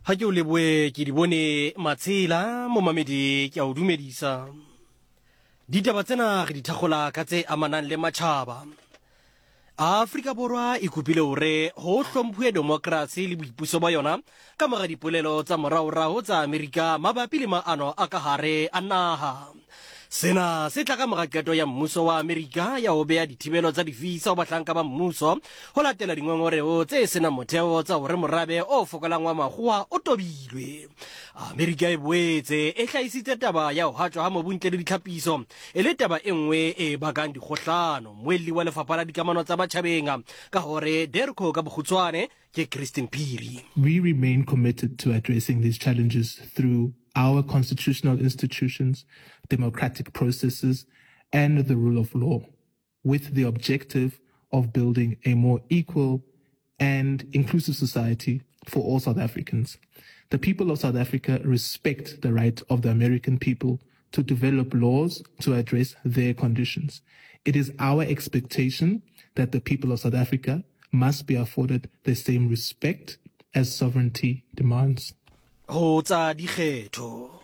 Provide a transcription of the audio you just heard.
Ga ke o leboe ke di bone matshela momamedi ke a o dumedisa. Ditaba tsena re di thakgola ka tse amanang le matjhaba. Afrika Borwa e kopile hore ho hlomphuwe demokrasi le boipuso ba yona ka mora dipolelo tsa moraorao tsa Amerika mabapi le maano a ka hare a naha. Sena se tla ka mora qeto ya mmuso wa Amerika ya ho beha dithibelo tsa divisa ho bahlanka ba mmuso ho latela dingongoreo tse senang motheo tsa hore morabe o fokolang wa makgowa o tobilwe. Amerika e boetse e hlahisitse taba ya ho hatjwa ha mobu ntle le ditlhapiso e le taba e nngwe e bakang dikgohlano. Mmuelli wa Lefapha la Dikamano tsa Batjhabeng ka hore DIRCO ka bokgutshwane ke Christine Phiri. We remain committed to addressing these challenges through our constitutional institutions, democratic processes, and the rule of law, with the objective of building a more equal and inclusive society for all South Africans. The people of South Africa respect the right of the American people to develop laws to address their conditions. It is our expectation that the people of South Africa must be afforded the same respect as sovereignty demands. Ho tsa dikgetho.